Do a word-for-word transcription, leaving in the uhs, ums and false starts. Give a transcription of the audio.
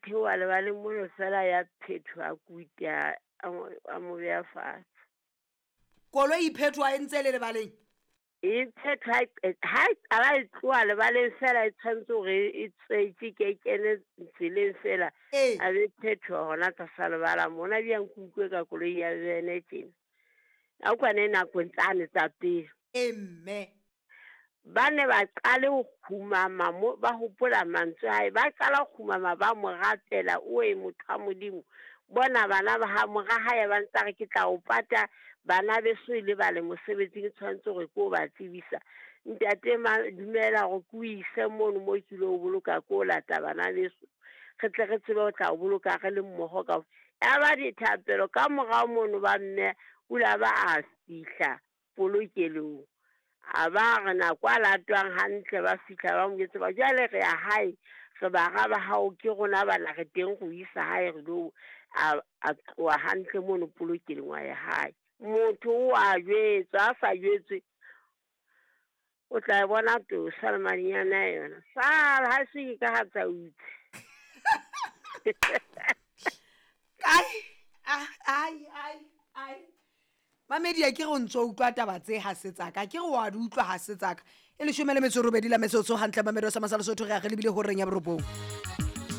theoha lebaleng mono fela ya phethoha kuti a a mo a mo beha fatshe. Koloi e phethoha e ntse le lebaleng. E phethoha ha e qala e tloha lebaleng fela e tshwanetse hore e tswetse ke kene tseleng fela. Ee. A be phethoha hona tlasa lebala mona bjang ke utlwe ka koloi ya bene tjena. A kwane nakong tsane tsa pele. E mme. Ba ne ba qale ho kgumama mo ba hopola mantswe a hae, ba qala ho kgumama ba mo rapela, oe motho wa Modimo. Bona bana ba ha mora hae ba ntse a re ke tla o pata bana beso e lebale mosebetsing tshwanetse hore ke o ba tsebisa. Ntate ma dumela hore ke o ise mono mo ke ilo boloka ko lata bana beso. Re tle re tsebe ho tla o boloka re le mmoho ka. Ya ba dithapelo ka morao mono ba mme o la ba a fihla polokelong. A ba re nako a latwang hantle ba fihla ba mo jwetsa ba jwale re ya hae re bara ba hao ke rona bana re teng go isa hae re lo a a tloha hantle mono polokelong wa ya hae. Motho o a jwetswa a sa jwetswe o tla e bona tosa le madinyane a yona. Sala ha se ke ka ha tsa utse. Ai ai ai ai. Mamedi a ke re o ntso utlwa taba tse ha se tsaka ke re wa di utlwa ha se tsaka e leshome le metso e robedi la metsotso hantle Mamedo sa Masala Sotho re a re lebile horeng ya borobong.